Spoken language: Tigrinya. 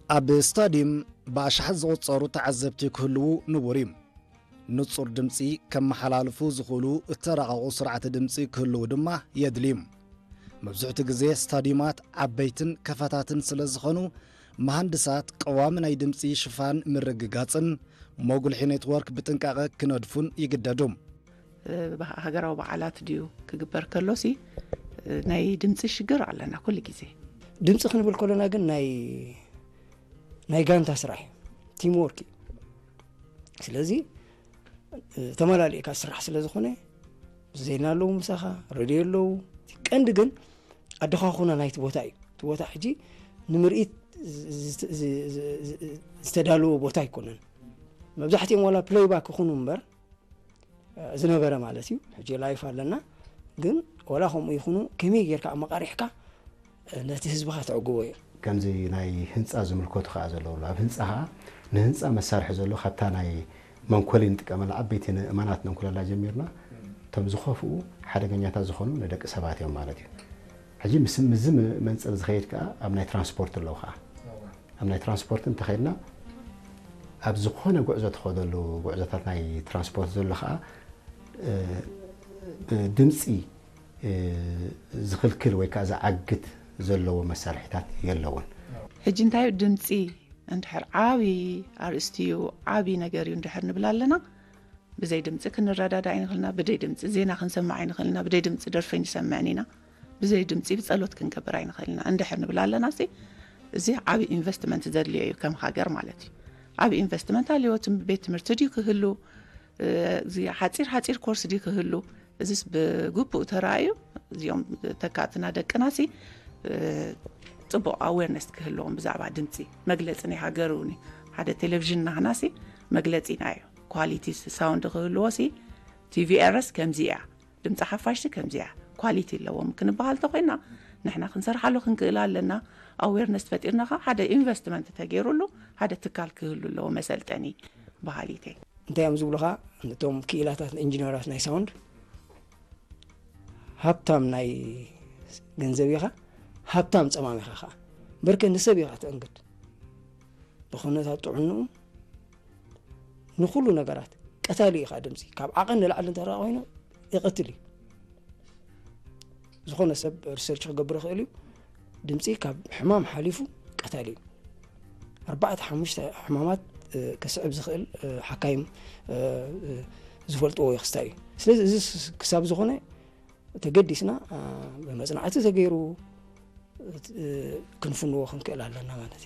ኣብ ስታድዩም ብኣሽሓት ዝቑጸሩ ተዓዘብቲ ክህልዉ ንቡር እዩ። ንጹር ድምጺ ከመሓላልፉ ዝኽእሉ እተራቐቑ ስርዓተ ድምጺ ክህልዉ ድማ የድልዩ። መብዝሕቱ ግዜ ስታድዩማት ዓበይትን ከፈታትን ስለ ዝኾኑ፣ መሃንድሳት ቀዋሚ ናይ ድምጺ ሽፋን ምርግጋጽን መጉልሒ ኔትወርክ ብጥንቃቐ ክነድፉን ይግደዱ። ሃገራዊ በዓላት ድዩ ክግበር ከሎሲ ናይ ድምፂ ሽግር ኣለና ኩሉ ግዜ። ድምፂ ክንብል ከሎና ግን ናይ ናይ ጋንታ ስራሕ እዩ፣ ቲም ወርክ እዩ። ስለዚ ተመላሊእካ ስራሕ ስለ ዝኾነ ዜና ኣለዉ፣ ምሳኻ ሬድዮ ኣለዉ። ቀንዲ ግን ኣደኻኹና ናይቲ ቦታ እዩ። እቲ ቦታ ሕጂ ንምርኢት ዝተዳለወ ቦታ ኣይኮነን። መብዛሕትኦም ዋላ ፕሌይባክ ይኹኑ እምበር ዝነበረ ማለት እዩ። ሕጂ ላይፍ ኣለና፣ ግን ዋላ ከምኡ ይኹኑ ከመይ ጌርካ ኣመቃሪሕካ ነቲ ህዝብኻ ተዕግቦ እዩ። ከምዚ ናይ ህንፃ ዝምልከቱ ከዓ ዘለውሉ ኣብ ህንፃ ከዓ ንህንፃ መሳርሒ ዘሎ ካብታ ናይ መንኮሊ ንጥቀመላ ዓበይቲ ንእማናት ነንኩለላ ጀሚርና እቶም ዝኸፍኡ ሓደገኛታት ዝኾኑ ንደቂ ሰባት እዮም ማለት እዩ። ሕጂ ምስ ምዚ መንፅር ዝኸይድ ከዓ ኣብ ናይ ትራንስፖርት ኣለዉ ከዓ ኣብ ናይ ትራንስፖርት እንተኸይድና ኣብ ዝኾነ ጉዕዞ ትኸደሉ ጉዕዞታት ናይ ትራንስፖርት ዘሎ ከዓ ድምፂ ዝኽልክል ወይ ከዓ ዝዓግት ዘለዎ መሳርሒታት የለውን። ሕጂ እንታይ ድምፂ እንድሕር ዓብዪ ኣርእስቲ እዩ፣ ዓብዪ ነገር እዩ እንድሕር ንብል ኣለና፣ ብዘይ ድምፂ ክንረዳዳ ኣይንኽእልና፣ ብደይ ድምፂ ዜና ክንሰምዕ ኣይንኽእልና፣ ብደይ ድምፂ ደርፊ ኣይንሰምዕን ኢና፣ ብዘይ ድምፂ ብፀሎት ክንገብር ኣይንኽእልና እንድሕር ንብል ኣለና ሲ እዚ ዓብዪ ኢንቨስትመንት ዘድልዮ እዩ ከም ሃገር ማለት እዩ። ዓብዪ ኢንቨስትመንት ኣልዮ፣ ቤት ትምህርቲ ድዩ ክህሉ፣ እዚ ሓፂር ሓፂር ኮርስ ድዩ ክህሉ፣ እዚስ ብግቡእ ተራእዩ እዚኦም ተካእትና ደቅና ሲ ፅቡቕ ኣዌርነስ ክህልዎም ብዛዕባ ድምፂ መግለፂ ናይ ሃገር እውን ሓደ ቴሌቪዥን ናህና ሲ መግለፂና እዩ። ኳሊቲ ሳውንድ ክህልዎ ሲ ቲቪኤርስ ከምዚ እያ፣ ድምፂ ሓፋሽ ሲ ከምዚ እያ፣ ኳሊቲ ኣለዎም ክንበሃል ተኮይና ንሕና ክንሰርሓሉ ክንክእል ኣለና። ኣዌርነስ ፈጢርና ከዓ ሓደ ኢንቨስትመንት ተገይሩሉ ሓደ ትካል ክህሉ ኣለዎ መሰልጠኒ በሃሊተይ። እንታይ እዮም ዝብሉኻ? እቶም ክኢላታት ኢንጂነራት ናይ ሳውንድ ሃብታም ናይ ገንዘብ ኢኻ፣ ሃብታም ፀማም ኢኻ ከዓ በርከ ንሰብ ኢኻ ተእንግድ። ብኹነታት ጥዕንኡ ንኩሉ ነገራት ቀታሊ ኢኻ። ድምፂ ካብ ዓቐን ንላዕሊ እንተ ኮይኑ ይቐትል እዩ። ዝኾነ ሰብ ሪሰርች ክገብር ይኽእል እዩ። ድምፂ ካብ ሕማም ሓሊፉ ቀታሊ እዩ። ኣርባዕተ ሓሙሽተ ሕማማት ከስዕብ ዝኽእል ሓካይም ዝፈልጥዎ ክስታይ እዩ። ስለዚ እዚ ክሳብ ዝኾነ ተገዲስና ብመፅናዕቲ ተገይሩ ክንፍንዎ ክንክእል ኣለና ማለት እዩ።